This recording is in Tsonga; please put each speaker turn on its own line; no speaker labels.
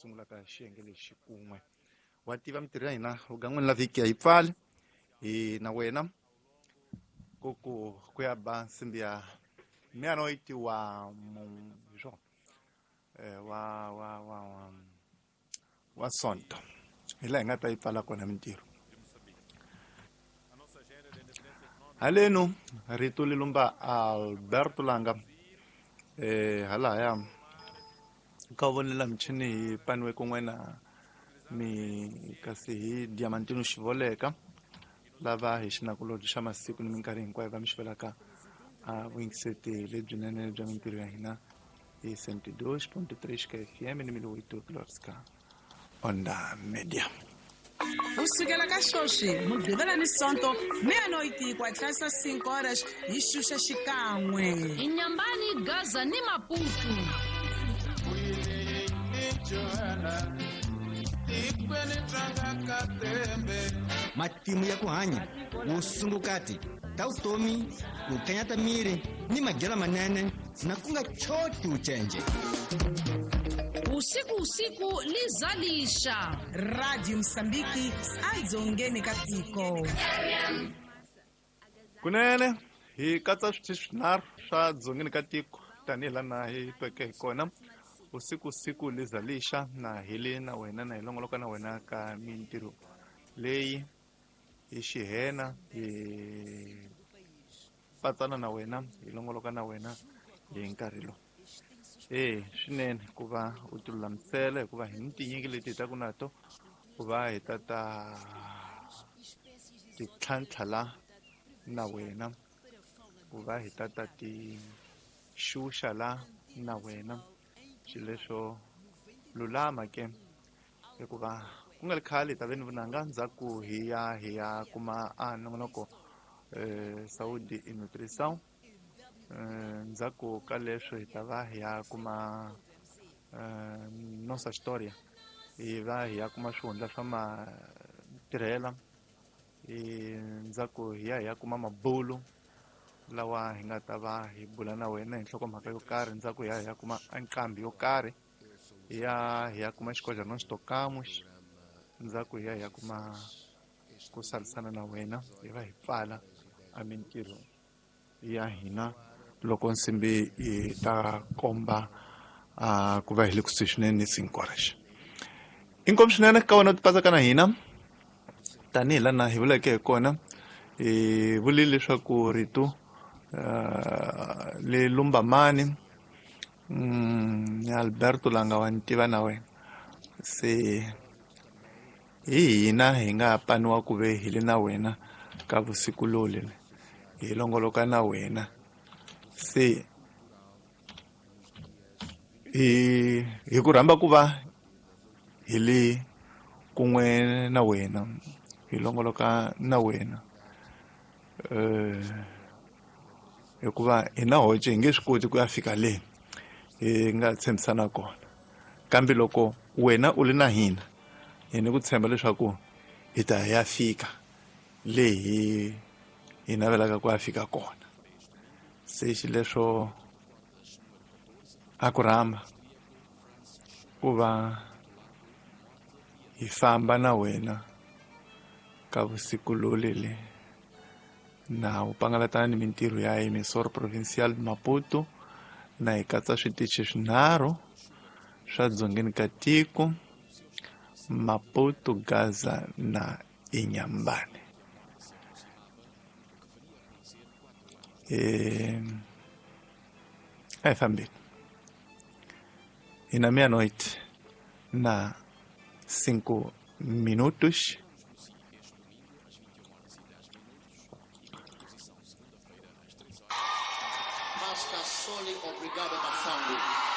sungulaka xiyenge lexi kun'we. Wa tiva mintirho ya hina vugan'wini la vhiki a yi pfali hi na wena ku ku ku ya ba nsimbi ya meia-noite wa hi swona wa wa wa wa wa Sonto hi laha hi nga ta yi pfala kona mintirho. Haleno rito li lumba Alberto Langa halahaya ka vonela michini hi paniwe kun'we na mi kasi hi Diamantino Xivoleka lava hi xinakulobye xa masiku ni minkarhi hinkwayo va mi xivelaka a vuyingiseti lebyinene bya mintirho ya hina hi 102.3 ka FM ni 1008 kilohertz ka Onda Media.
Kusukela ka sweswi Mugqivela ni Sonto meia-noite ku hatlisa 5 horas hi xuxa xikan'we.
Inyambani, Gaza ni Maputo.
Matimu ya ku hanya, vusungukati ta vutomi, ku kanyata miri ni madyelo manene na ku nga choti ucenje.
Usiku usiku lizalisha.
Radio Msambiki aidzongeni ka tiko.
Kunene hi katsa switichi swinharhu swa dzongeni ka tiko tanihi laha hi tweke hi kona. Usiku usiku lizalisha na hi le na wena na hi longoloka na wena ka mintirho leyi hi xihena hi patsana na wena hi longoloka na wena hi nkarhi lowu. Swinene ku va u ti lulamisela hikuva hi ni tinyingi leti hi taku na to ku va hi ta ta ti tlhantlha la na wena, ku va hi ta ta ti xuxa la na wena. Swilo leswo lulama ke hikuva ku nga ri khale hi ta ve ni vunanga ndzhaku hi ya hi ya kuma a nongonoko Saúde e Nutrição. Ndzhaku ka leswo hi ta va hi ya kuma Nossa História, hi va hi ya kuma swihundla swa matirhela. Ndzhaku hi ya hi ya kuma mabulu lawa hi nga ta va hi bula na wena hi nhlokomhaka yo karhi. Ndzhaku hi ya hi ya kuma nqambi yo karhi, hi ya hi ya kuma xikoja no xitokamu. Ndzhaku hi ya hi ya kuma ku salisana na wena, hi va hi pfala a mintirho ya hina loko nsimbi yi ta komba ku va hi le kusuhi swinene ni 5 horas. Inkomu swinene ka wena u tipatsaka na hina tanihi laha hi vuleke hi kona. Hi vulile leswaku rito le lumba mani Alberto Langa wa ni tiva na wena, se hi hina hi nga paniwa ku ve hi le na wena ka vusiku loli hi longoloka na wena. Se hi ku rhamba ku va hi le kun'we na wena hi longoloka na wena hikuva hi na hoce hi nge swi koti ku ya fika le hi nga tshembisana kona, kambe loko wena u le na hina hi ni ku tshemba leswaku hi ta ya fika le hi navelaka ku ya fika kona. Se xileswo a ku rhamba ku va hi famba na wena ka vusiku lolele na u pangalatana ni mintirho ya Emissora Provincial de Maputo na hi katsa switichi swinharhu swa dzongeni ka tiko, Maputo, Gaza na Inhambane. A hi fambeni hi na meia-noite na 5 minutos.
Master Soli, obrigado Masangu.